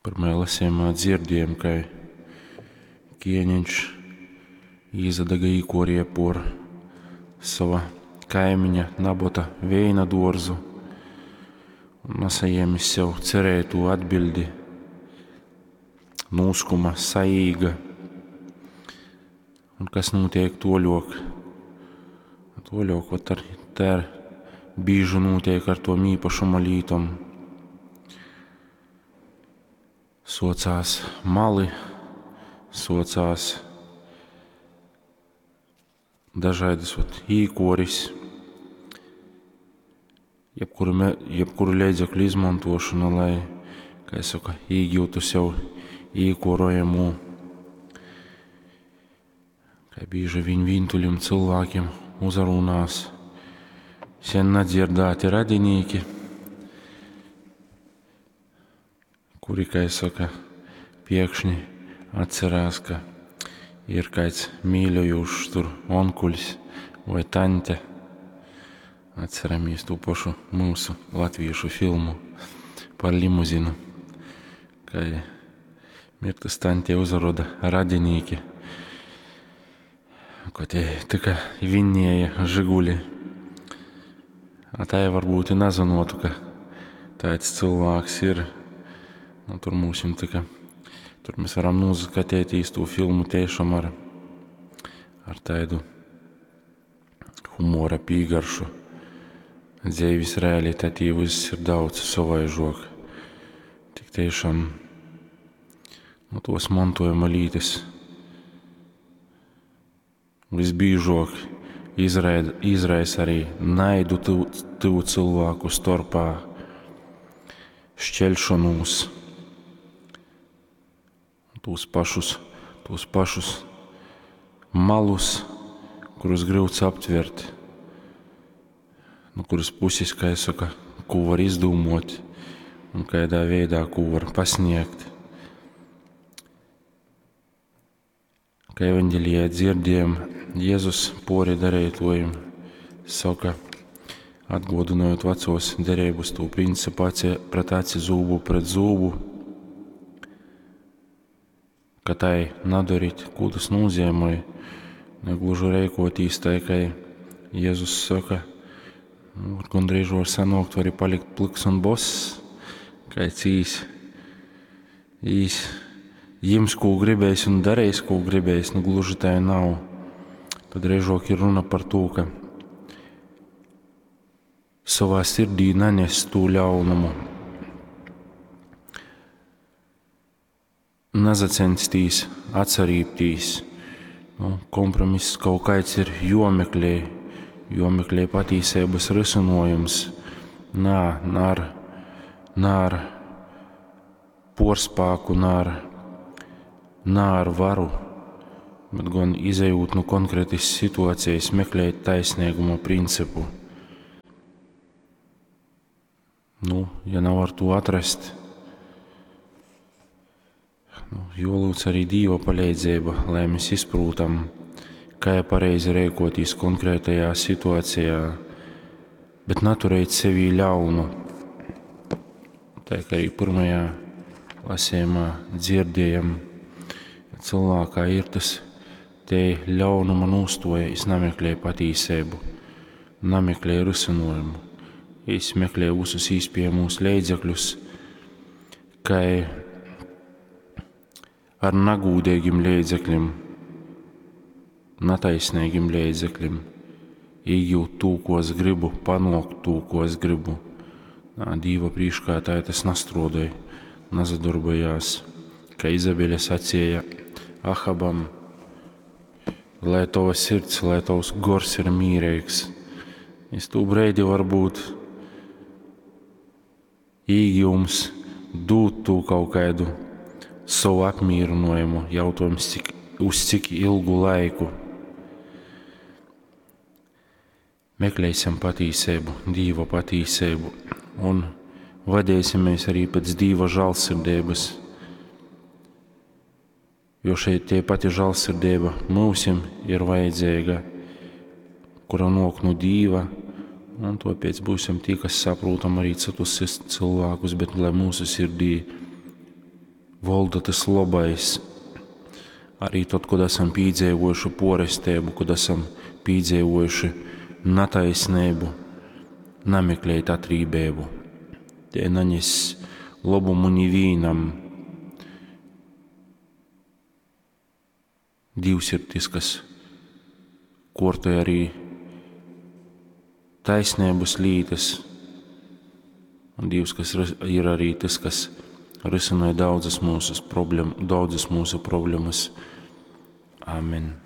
Pyrmajā lasejumā dzierdiejom, kai kieneņš īsadaga īkuorie por sova kaimiņa Nabota veina duorzu un nasajēmis sev cerētū atbiļdi, nūskuma, saīga. Un kas nūtiek tuoļuok? Tuoļuok vot ar, tā ar bīži nūtiek ar tom īpašuma lītom. Suocās mali, suocās dažaidys vot īkuoris, jebkuru, me, jebkuru leidzekļu izmontuošona, lai, kai soka, īgiutu sev īkuorojamū. Kai bīži viņ vīntuļim cylvākim uzarūnās sen nadzierdāti radinīki, kuri, kai soka, piekšņi atcerās, ka ir kāds mīļojūšs tur onkuļs voi taņte. Atceramies tū pašu mūsu latviešu filmu par limuzinu, kai Mirtas taņtei uzaroda radinīki, ko tie tyka vinnieja Žiguli. A tai varbūt i nazynuotu, ka taids cylvāks ir. Nu, tur mūsim tyka, tur mēs varam nūsaskateitīs tū filmu tiešām ar, ar taidu humora pīgaršu. Dzeivis realitatī vyss ir daudz sovaižuok. Tik tiešām nu, tuos montuojuma lītys visbīžuok izraida, izraisa arī naidu tyvu, tyvu cylvāku storpā, šķelšonūs, tūs pašus, tūs pašus malus, kurus gryuts aptvert, nu kuras pusis, kā es saka, ko var izdūmot un kādā veidā, ko var pasniegt. Kā evaņģelijā dzirdējam, Jēzus pori darītojiem saka, atgodinot vecos derības tū principu aci pret aci, zūbu pret zūbu, ka tai nadarīt, ko tas nozīmē, negluži rēkotīs tai, kai Jēzus saka, nu, gandrīz var sanākt, var arī palikt pliks un boss, kāds īs, īs jims, ko gribēs un darīs, ko gribēs, nu gluži tā nav. Tad režok ir runa par to, ka savā sirdī nanes tū ļaunumu, nazacenstīs atsarībtīs. Nu, kompromiss kaut kāds ir jomeklē, jomeklē patīsības risinojums. Nā, nā ar, nā ar porspāku, nā ar, nā ar varu, bet gan izejūt no konkrētas situācijas, meklēt taisnīguma principu. Nu, ja nav ar to atrast, nu, jolūdz arī Dīva palīdzība, lai mēs izprūtam, kā pareizi rēkotīs konkrētajā situācijā, bet naturēt sevī ļaunu. Tā kā arī pirmajā lasījumā dzirdējam, ja cilvēkā ir tas te ļaunuma nūstoja, es nameklēju patīsību, nameklēju risinājumu. Es meklēju visus iespējamos līdzekļus, kā ar nagūdīgiem līdzekļiem, nataisnīgiem līdzekļiem, iegūt to, ko es gribu, panākt to, ko es gribu. Nā, Dīva prīškā tā tas nastrodoja, nazadarbojās, kā Izabeļa sacīja Ahabam, lai tava sirds, lai tavs gors ir mīrīgs. Es tū breidi varbūt īgījums dūt tū kaut kādu savu apmierinājumu, jautājums, cik, uz cik ilgu laiku. Meklēsim patīsību, Dīva patīsību un vadīsimies arī pēc Dīva žēlsirdības, jo šeit tie pati žēlsirdība mūsim ir vajadzīga, kura nāk no Dīva, un tāpēc būsim tie, kas saprotam arī citus cilvēkus, bet lai mūsu sirdī volda tys lobais. Arī tod, kod esam pīdzeivojuši poresteibu, kod esam pīdzeivojuši nataisneibu, nameklēt atrībeibu. Te nanes lobumu nivīnam. Dīvs ir tys, kas kuortoj arī taisneibys lītys, un Dīvs, kas ir arī tys, kas risināja daudzas mūsu, problem, daudzas mūsu problemas. Amen.